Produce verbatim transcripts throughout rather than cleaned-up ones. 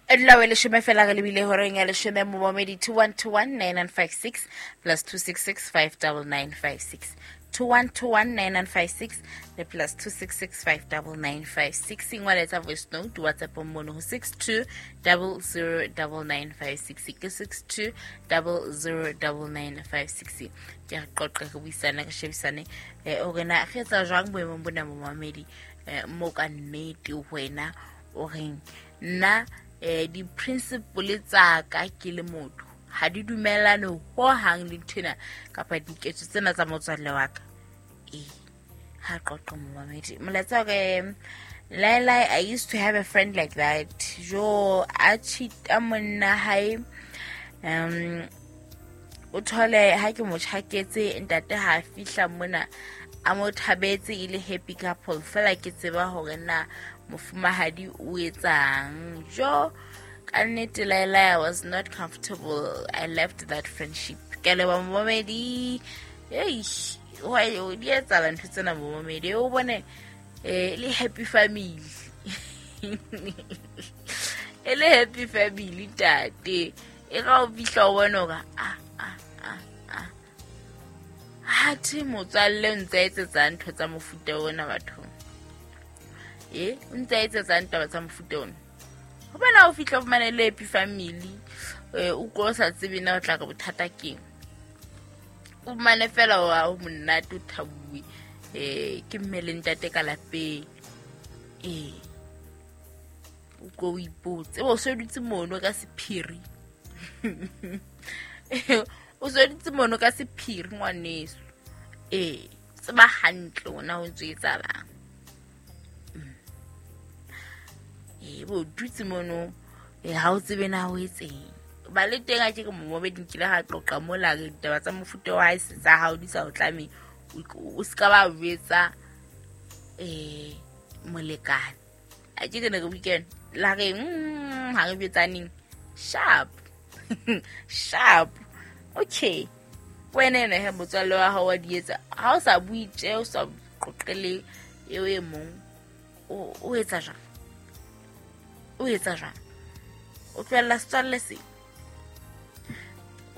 Dula we leshome fela re lebile horeng ya leshome momamedi two one two one nine nine five six plus two six six five double nine five six two one two one nine nine five six le plus two six six five double nine five six. Ingwaletsa voice note WhatsApp mono ho six two double zero double nine five six ke six two double zero double nine five six. Ke re qoqe re buisane re shebisane eh o rena re etsa jwang boemong bona momamedi eh mo ka nnete wena o reng nna eh di principle tsa ka ke le motho ha di dumellane ho hang le nthena kapa diketso tsena tsa motswalle wa ka. Eh ha qoqo momamedi molaetsa re Laila, I used to have a friend like that. Jo a cheat-a monna hae um o thole ha ke mo tjhaketse ntate ha fihla mona a mo thabetse e le happy couple fela ke tseba hore na mofumahadi o etsang. Jo ka nnete Laila, I was not comfortable. I left that friendship. Ke leboha momamedi. Eish, wa o di etsahala ntho tsena momamedi o bone eh le happy family. E le happy family ntate. E ga o fihla o bone hore ah ah ah ah ha thi motswalle o ntse a etsetsa ntho tsa mofuta ona bathong. Eh o ntse a etsetsa ntaba tsa mofuta ona. Hobane ha o fihla o fumane le happy family eh o ko sa tsebe na o tla ka bothata keng. O fumane fela wa o monate o thabuwe eh ke mme le ntate ka lapeng. Eh o ko o ipotse o se dutse mono ka sephiri. O se dutse mono ka sephiri ngwaneso. Eh tseba hantle ona o ntse etsahalang. E bo dutse mono e ha o tsebe na o etseng. Ba le teng a ke ke momamedi nkile ha qoqa mola re ditaba tsa mofuta wa hae tsa hao di sa o tlame o ska ba betsa eh molekane. A ke ke ne re weekend la re mm ha re betsaneng sharp sharp. Okay wena ene he motswalle wa hao wa di etsa ha o sa bue tje o sa qoqele eo e mong o o etsa jwang? O etsa jwang? O tlohella setswalle se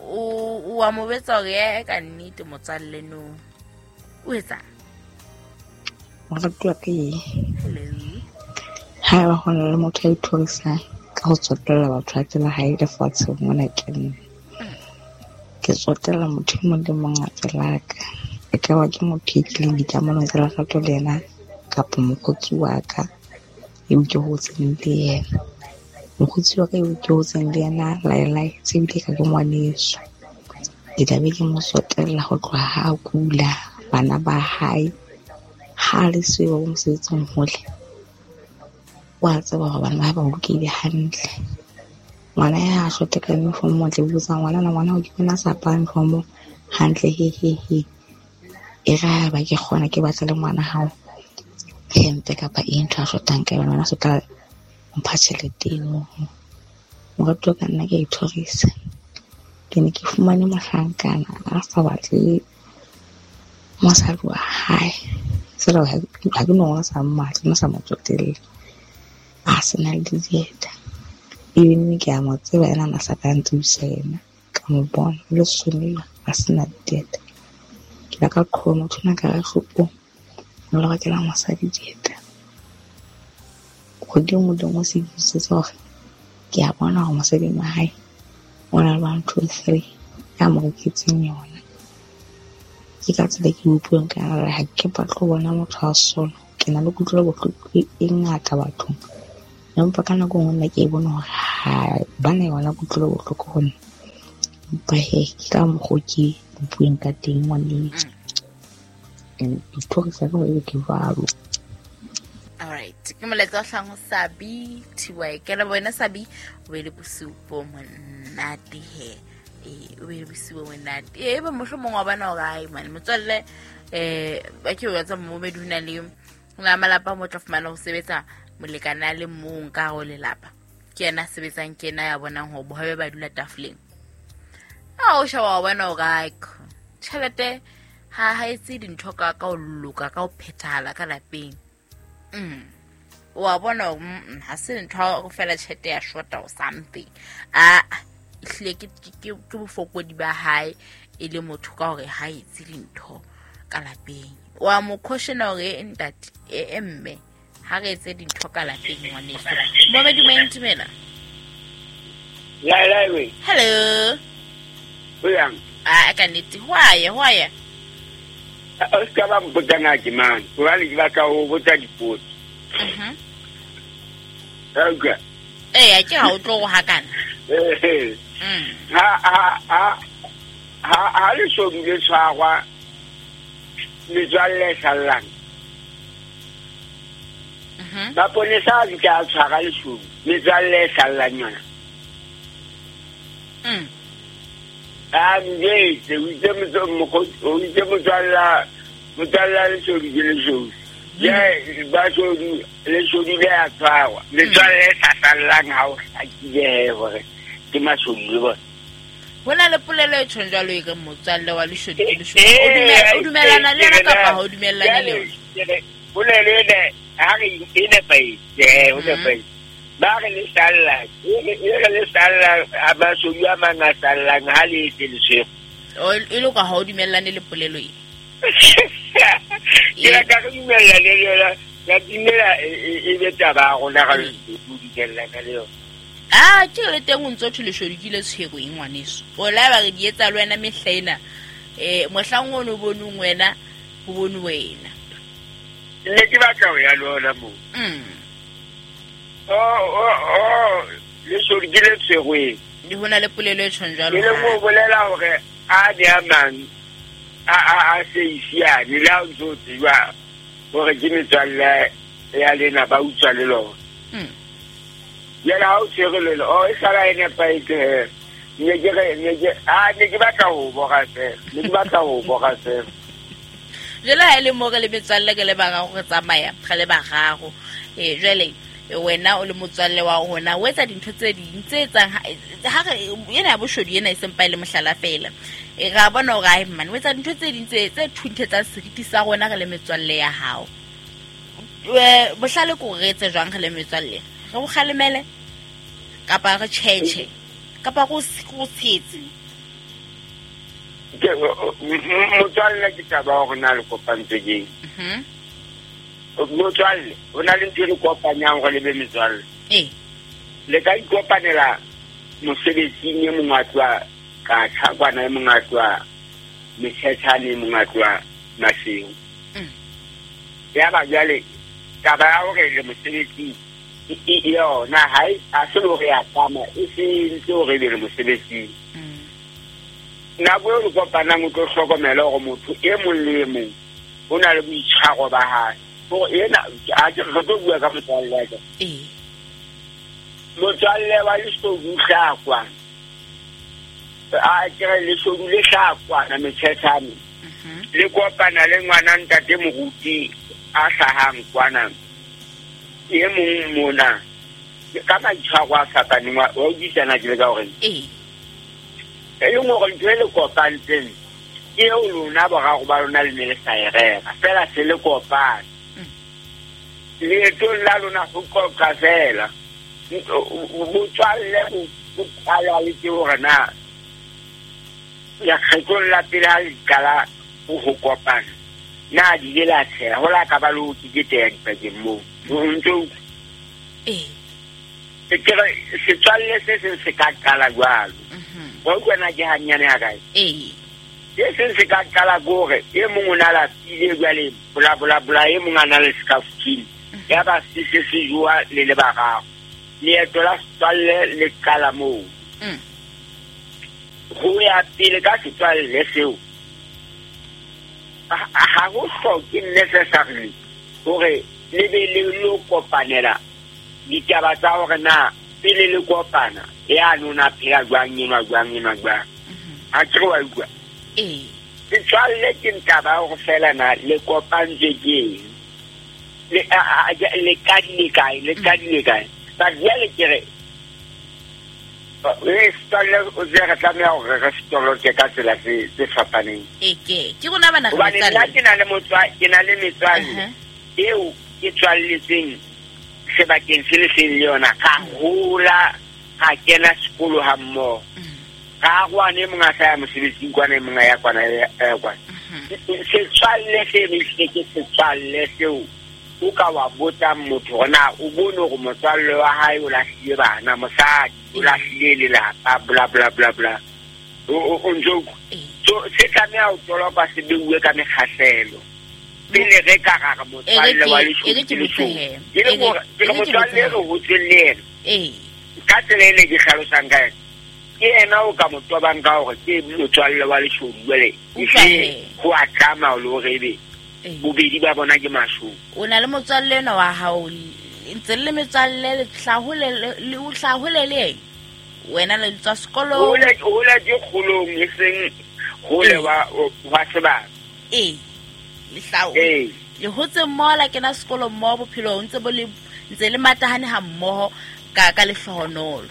o o a mo betsa hore e ka nnete motswalle no o etsa moratuwa ke ha ba hona le motho ya ithorisang ka ho tsotella batho a tsela hae lefatsheng mona ke nna. Ke tsotella motho e mong le mong a tselaka e ka ba ke motho e tlileng dikamanong tsa lerato le yena kapa mokgotsi wa ka eo ke hotseng le yena. Mokgotsi wa ka eo ke hotseng le yena Laila se ebile ka ke ngwaneso. Ke tla be ke mo tsotella ho tloha ha a kula bana ba hae ha le siyo ba mosebetsing hole wa tseba hore bana ba hae ba bolokehile hantle. Ngwana ya shote ka uniform o tle botsa ngwana na ngwana o ke bona sa apara uniform hantle he he he e ra ba ke kgona ke batla le ngwana hao hempe kapa eng ntho a shotang ka yona ngwana so tla mpha tjhelete eno. Moratuwa ka nna ke a ithorisa. Ke ne ke fumane mohlankana a sa batle mosadi wa hae. Feela ha ke no ngwana sa mmatla, nna sa mo tsotelle. A sena le dieta. Ebile ke a mo tseba ena a sa ka ntsebisa yena. Ka mo bona o le sonela a sena dieta. Ke la ka qhoma motho ona ka re shopong o lo rekela mosadi dieta. Kgwedi e nngwe le nngwe se ke hore ke a bona hore mosadi wa hae o na le one two three ya mo reketseng yona. Ke ka tsela ke utlwang ka yona ha ke batle ho bona motho a sola. Ke na le kutlwelo bohloko e ngata bathong. Empa ka nako e nngwe nna ke e bone hore ha ba na yona kutlwelo bohloko ho nna. Empa he ke ka mokgwa o ke bueng ka teng ngwaneso. And dithorisa ka hore ke jwalo. All right. Ke molaetsa o hlang ho Sabi T Y. Ke leboha wena Sabi o be le bosiu bo monate he. Eh o be le bosiu bo monate. Eh ba mohlomong wa bona hore ai man motswalle eh ba ke o etsa momedi hona le la malapa mo tla fumana ho sebetsa molekane a le mong ka ho lelapa. Ke yena a sebetsang ke yena ya bonang hore bohobe ba dula tafoleng. Ha o sheba wa bona hore ai tjhelete ha ha etse dintho ka ka ho loka ka ho phethahala ka lapeng. Mm. Wa bona ha se ntho go fela tjhelete ya short or something. A hlile ke ke ke bofokodi ba hae e le motho ka hore ha etse dintho ka lapeng. Wa mo caution hore ntate e mme ha re etse dintho ka lapeng ngwaneso. Momedi Maentumela. La la we. Hello. Uyang. Ah ka nnete hwa ya hwa ya. O ska ba mpotana ke mang? Hobane ke batla ho botsa dipotso. Mhm. Okay. Eh ke ha o tlo go hakana. Eh. Mm. Ha ha ha ha ha le so le tshwarwa metswalle sallang. Mhm. Maponesa a ka tshwara leshodu metswalle sallang yona. Mm. A mjetse o itse o itse motswalla motswalla leshodu ke leshodu. Ya ba shodu leshodu le a tshwarwa metswalle sa sallang ha o hlakile hore ke mashodu le bona. Hona le polelo e tjhong jwalo e re motswalle wa leshodu ke leshodu. O dumela o dumellana le yona kapa ha o dumellane le yona? Polelo ena ha re e nepahetse, eh o nepahetse. Ba re le salla, e re le salla a mashodu a mang a sallang ha le etse leswego. O e le ka ha o dumellane le polelo e. Ke la ka re dumellane le yona, ya dumela e be taba ya rona ga re dumellana le yona. Ah ke le teng o ntso thwe leshodu ke le tshwerweng ngwaneso. O la ba re di etsa le wena mehla ena. Eh mohlang ono bonong wena ho bone wena. Ne ke batla ho ya le ona moo. Mm. Oh oh oh leshodu ke le tshwerweng. Di hona le polelo e tjhong jwalo. Ke le mo bolela hore a di a mang a a a se isiane le ha o ntso tseba hore ke metswalle ya lena ba utswa le lona. Mm. Yena ha o tshwere le lona, oh e sala e nepahetse. Ne ke re ne ke ah ne ke batla ho bora fela. Ne ke batla ho bora fela. Jwale ha e le mo re le metswalle ke le bararo re tsamaya, re le bararo. Eh jwale wena o le motswalle wa rona o etsa dintho tse ding tse etsang ha re ena ya boshodu ena e sempa e le mohlala fela. E ra bona hore ai man o etsa dintho tse ding tse tse thunthetsang seriti sa rona re le metswalle ya hao. Eh bohlale ko re etse jwang re le metswalle? Re o kgalemele kapa re tjhetjhe kapa go go tshetse. Ke motswalle ke taba hore na le kopantswe keng. Mhm. Motswalle o na le ntho e le kopanyang hore le be metswalle. Eh. Le ka ikopanela mosebetsing e mong a tloha ka tshakwana e mong a tloha metshethane e mong a tloha Maseru. Mm. Ya ba jwale taba ya hore le mosebetsing e yona ha e a se hore ya tama e se ntse hore be le mosebetsing. Mm. Nako eo le kopanang o tlo hlokomela hore motho e mong le e mong o na le boitshwaro ba hae. Hore ena a ke re tlo bua ka motswalle wa ka. Eh. Motswalle wa leshodu hlakwa. A ke re leshodu le hlakwa na metshethane. Mhm. Le kopana le ngwana ntate moruti a hlahang kwana. E mong mona ka maitshwaro a fapaneng wa utlwisana ke le ka hore. Eh. E leng hore ntho e le kopantseng ke eo lona boraro ba lona le ne le sa e rera fela se le kopane. Leetong la lona ho qoqa fela. Botswalle bo qala le ke hore na lekgetlong la pele ha le qala ho kopana na di ile la tsheha ho la ka ba le ho keteya dipakeng moo. O ntso Eh. Ke re setswalle se seng se ka qala jwalo. Mhm. Wa utlwa na ke hanyane ha kae? Eh. Se seng se ka qala ke hore e mong o na lapile jwale bola bola bola e mong a na le scafuthini. Ya ba se se se joa le le bararo. Leeto la setswalle le qala moo. Mm. Ho ya pele ka setswalle seo. Ha ho hloke necessarily hore le be le lo kopanela ditaba tsa hore na pele le kopana ya nona phela jwang enwa jwang enwa jwang. Ha ke re wa utlwa. Eh. Setswalle ke ntaba hore fela na le kopantswe ke eng. Le le kadile kae, le kadile kae. Ba jwale ke re re setswalle o tse re tlameha hore re setoloke ka tsela tse tse fapaneng. E ke ke rona bana re Hobane nna metswalle. ke na le motswa ke na le metswalle Uh-huh. eo ke tswalletseng sebakeng se le seng le yona ka hola ka kena sekolo ha mmoho ka kwane mongwe a sa ya mosebetsing kwana e mongwe ya kwana ya kwana setswalle se ne ke setswalle seo o ka wa botsa motho hore na o bone hore motswalle wa hae o lahlile bana mosadi o lahlile lelapa bla bla bla bla o ntso so se tlameha ho toloka se beuwe ka mekgahlelo pele re ka ra re motswalle wa leshodu ke le hore ke le motswalle re hotseng le yena ka tsela e ne ke hlalosang ka yona ke yena o ka mo tobang ka hore ke motswalle wa leshodu jwale ho a tlama le hore ebe bobedi ba bona ke mashodu. O na le motswalle enwa wa hao ntse le metswalle le hlahole le o hlahole le eng wena le tswa sekolong hole hole ke kgolong e seng hole wa wa sebaka ee le hlao le hotse mmoho la kena sekolo mmoho bophelo ntse bo le ntse le matahane ha mmoho ka ka lehlohonolo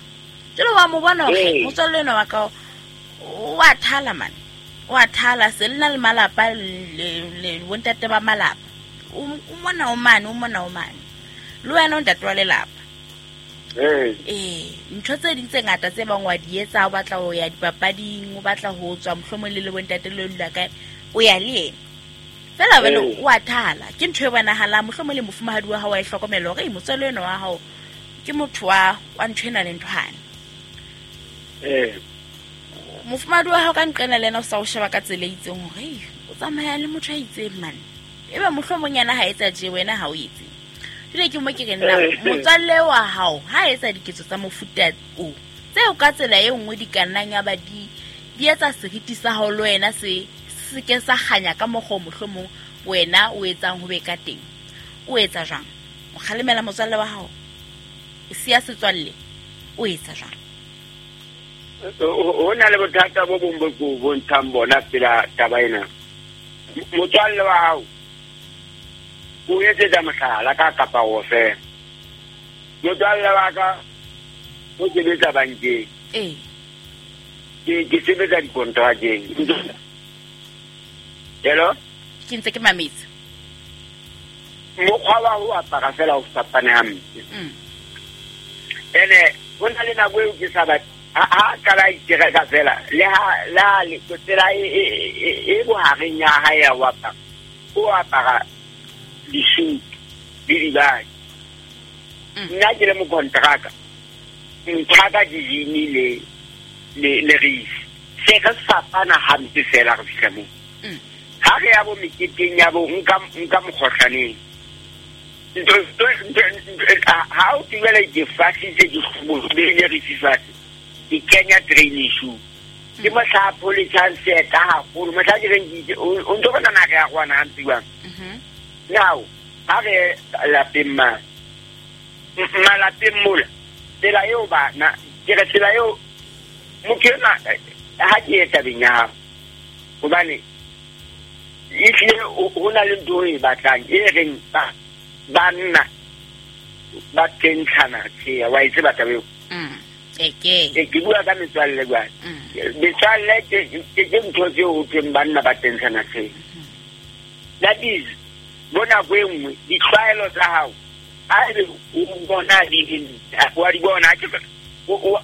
jalo wa mo bona hore motswalle enwa wa ka o a thala mane o a thala se le na le malapa le le bontate ba malapa o mona o mane o mona o mane le wena o ntate wa lelapa ee ee ntho tse ding tse ngata tse bang wa di etsa o batla ho ya dipapading o batla ho tswa mohlomong le le bontate le dula kae o ya le yena fela wena o a thala ke ntho e bonahalang mohlomong le mofumahadi wa hao wa e hlokomela hore motswalle enwa wa hao ke motho wa wa ntho ena le nthwane ee mofumahadi wa hao ka nqena le yena o sa o sheba ka tsela e itseng hore o tsamaya le motho a itseng mane ebe mohlomong yena ha etsa tje wena ha o etse jwale ke mo ke re nna motswalle wa hao ha etsa diketso tsa mofuta o tseo ka tsela e nngwe di ka nnang ya ba di di etsa seriti sa hao le wena se se ke sa kganya ka mokgwa mohlomong wena o etsang ho be ka teng o etsa jwang o kgalemela motswalle wa hao o siya setswalle o etsa jwang ho na le bothata bo bong bo ko bontshang bona pela taba ena motswalle wa hao o etsetsa mohlala ka kapa o fela motswalle wa ka o sebetsa bankeng ee ke ke sebetsa dikontrakeng hello ke ntse ke mametse mokgwa wa ho apara fela o fapane hampe ene ho na le nako eo ke sa batle ha qala itereka fela le ha la le tsela e e bohareng ya hae ya ho apara o apara disutu le dibaki nna ke le mokontraka nthaka dijini le le le reisi se re fapana hampe fela re fihla moo ha re ya bo meketeng ya bo nka nka mokgohlaneng ha o tibele ke fasitse ke beile reisi fatshe ke kenya training shoe ke mohla a pholishang seeta haholo mohla ke reng ke o ntso bona na re ya kwana hampe jwang now ha re lapeng ma malapeng mola tsela eo bana ke re tsela eo motho enwa ha ke ye tabeng ya hao hobane ehlile ho na le ntho e batlang e reng ba banna ba tentshana tjhe wa e tseba taba eo eke ke bua ka metswalle jwale metswalle ke ke ntho tseo ho thweng banna ba tentshana tjhe that is bona nako e nngwe ditlwaelo tsa hao ha ebe o bona di wa di bona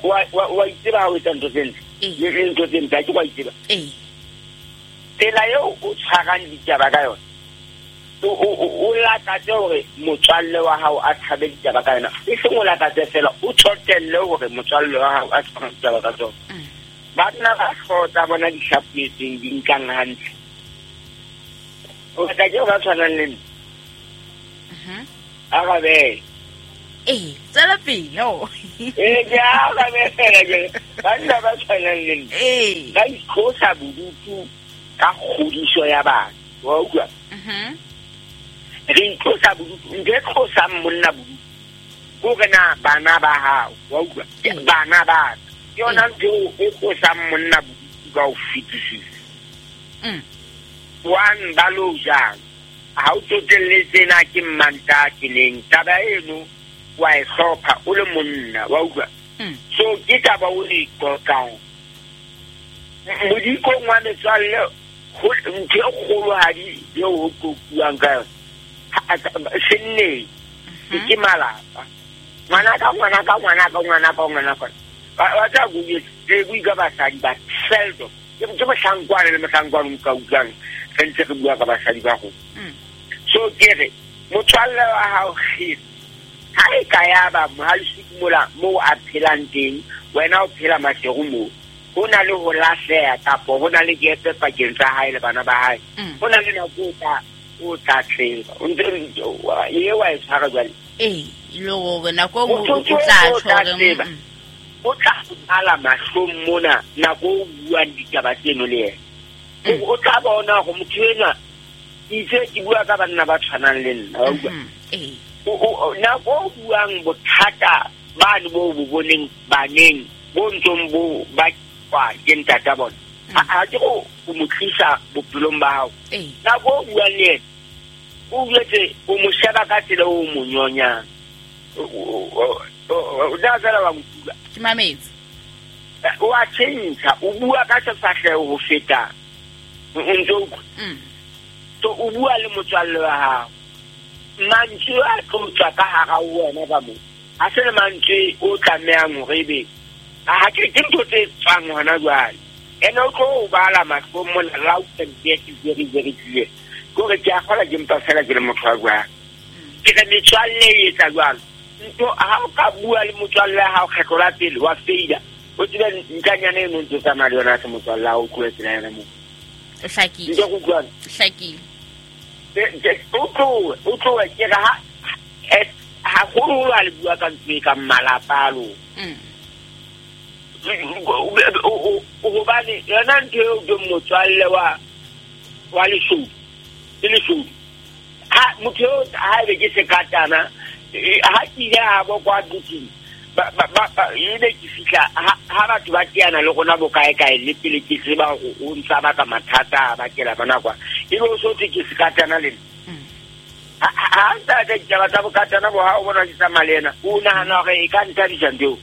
wa wa itseba ha o etsa ntho tse ntle le ntho tse mpe ha ke wa itseba tsela eo o tshwarang ditaba ka yona o lakatse hore motswalle wa hao a tshabe ditaba ka yona e seng o lakatse fela o tsotelle hore motswalle wa hao a tshware ditaba ka tsona banna ba hlooho tsa bona di hlapetseng di nkang hantle o batla ke ba tshwanang le nna arabe ee tswela pele o ee ke arabe fela ke banna ba tshwanang le nna ee ba itlosa bodutu ka kgodiso ya bana wa utlwa re itlosa bodutu ntho e tlosang monna bodutu ke hore na bana ba hao wa utlwa bana ba ka ke yona ntho e tlosang monna bodutu ka ho fetisisa one ba lo jang ha o tsotelle tsena ke mmanta ke neng taba eno wa e hlopha o le monna wa utlwa so ke taba o e qoqang modikong wa metswalle ntho e kgolohadi eo ho qoquwang ka yona senneng Ke malapa. Ngwana ka ngwana ka ngwana ka ngwana ka ngwana ka. Ba tla go ke bua ka basadi ba seldom. Ke ke mohlankwana le mohlankwana o ka utlwang re ntse re bua ka basadi ba go. So ke re motswalle wa hao kgiri ha e ka ya ba mohalisiki mola moo a phelang teng, wena o phela Maseru moo. Ho na le ho lahleha kapo ho na le gepe pakeng tsa hae le bana ba hae. Ho na le nako o tla o tla tseba. O ntse e wa e tshwara jwale. Ee, le hore nako o tla tjho hore o tla bala mahlong mona nako o buang ditaba tseno le yena. O tla bona hore motho enwa itse ke bua ka banna ba tshwanang le nna, wa utlwa? Ee. Nako o buang bothata bane bo bo boneng baneng bo ntsong bo ba kwa ke ntata bona. Ha ke go o mo tlisa bophelong ba hao. Nako o buang le yena o jwetse o mo sheba ka tsela o mo nyonyang. O tla fela wa nkutlwa. Ke mametse. O a tjhentjha, o bua ka sefahleho ho feta. O ntse o utlwa. So o bua le motswalle wa hao. Mantswe a tlo tswa ka hara wena ka moo. Ha se le mantswe o tlamehang hore ebe ha ke ke ntho tse tswang hona jwale. Ene o tlo o bala mahlong mona loud and very very very clear. Kore ke a kgola ke mpa fela ke le motho wa jwang. Ke re metswalle e etsa jwalo. Ntho ha o ka bua le motswalle wa hao kgetlo la pele wa feila, o tsebe ntanyana eno ntse tsamaya le yona ha se motswalle wa hao, o tlohe tsela yona moo. O hlakile. Ntse go utlwana? O hlakile. O tlohe, o tlohe ke re ha haholoholo ha le bua ka ntho e kang malapa a lona. Hobane yona ntho eo ke motswalle wa wa leshodu, ke leshodu. Ha motho eo ha ebe ke sekatana, ha ke ile ha bo kwa duting, ba ba ba ebe ke fihla ha batho ba teana le rona bo kae kae le pele ke tseba hore o ntsa baka mathata a bakela bana kwa. Ebe o so thwe ke sekatana le nna. Ha ntsa ka ditaba tsa bokatana bo ha o bona ke tsamaya le yena, o nahana hore e ka nthabisa ntho eo.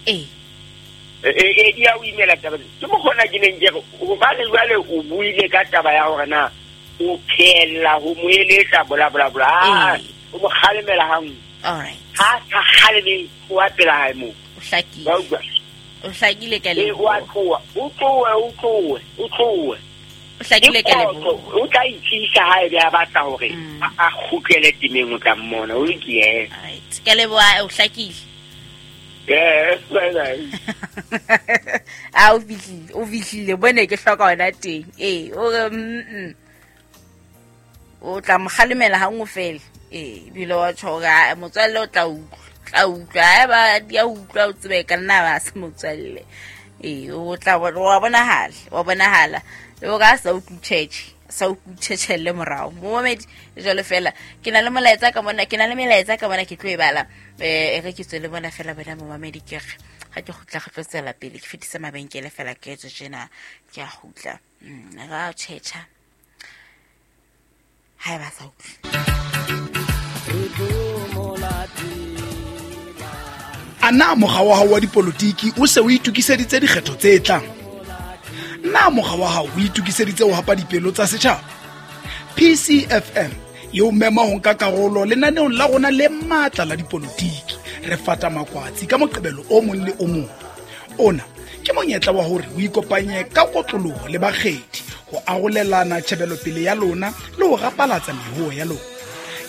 Ee. E di a o imela taba. Ke mokgona ke neng ke re hobane jwale o buile ka taba ya hore na o phela ho mo eletsa bola bola bola. O mo kgalemela hang. All right. Ha sa kgaleme o a pela hae moo. O hlakile. O hlakile ka le. O a tloha, o tlohe, o tlohe, o tlohe. O hlakile ka leboha. O tla itsisa ha ebe a batla hore a kgutlele temeng o tla mmona, o lokile. All right. Ka leboha, o hlakile. Yes, bye bye. A o fihlile, o fihlile bone ke hloka hona teng. Eh, o re mm. O tla mo kgalemela ha nngwe fela. Eh, ebile wa tjho hore motswalle o tla utlwa, tla utlwa. Haeba di a utlwa o tsebe ka nna ba se motswalle. Eh, o tla wa bonahala, wa bonahala. Le hore a sa utlwe tjhetjhe, sa utlwe tjhetjhelle morao. Momamedi jwalo fela. Ke na le molaetsa ka mona, ke na le melaetsa ka mona ke tlo e bala. Eh, re ke tswe le bona fela bona momamedi ke re ha ke kgutla re tlo tswela pele ke fetisa mabenkele fela ke etse tjena ke a kgutla. Mm, ra tjhetjha. Ha ba sa utlwe. Ana mokga wa hao wa dipolotiki o se o itokiseditse dikgetho tse tlang? Na mokga wa hao o itokiseditse ho hapa dipelo tsa setjhaba? P C F M e o mema ho nka karolo lenaneong la rona le matla la dipolotiki. Re fata makwatsi ka Moqebelo o mong le o mong. Ona ke monyetla wa hore o ikopanye ka kotloloho le bakgethi ho arolelana tjhebelopele ya lona le ho rapalatsa mehoo ya lona.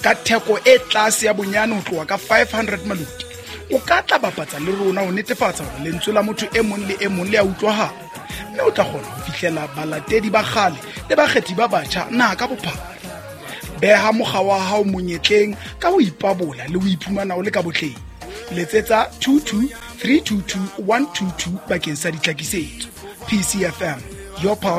Ka theko e tlase ya bonyane ho tloha ka five hundred maluti, o ka tla bapatsa le rona ho netefatsa hore lentswe la motho e mong le e mong le a utlwahala, mme o tla kgona ho fihlela balatedi ba kgale le bakgethi ba batjha naha ka bophara. Beha mokga wa hao monyetleng ka ho ipabola le ho iphumana o le ka botleng. Letsetsa two two three two two one two two bakeng sa ditlhakisetso. P C F M, your power.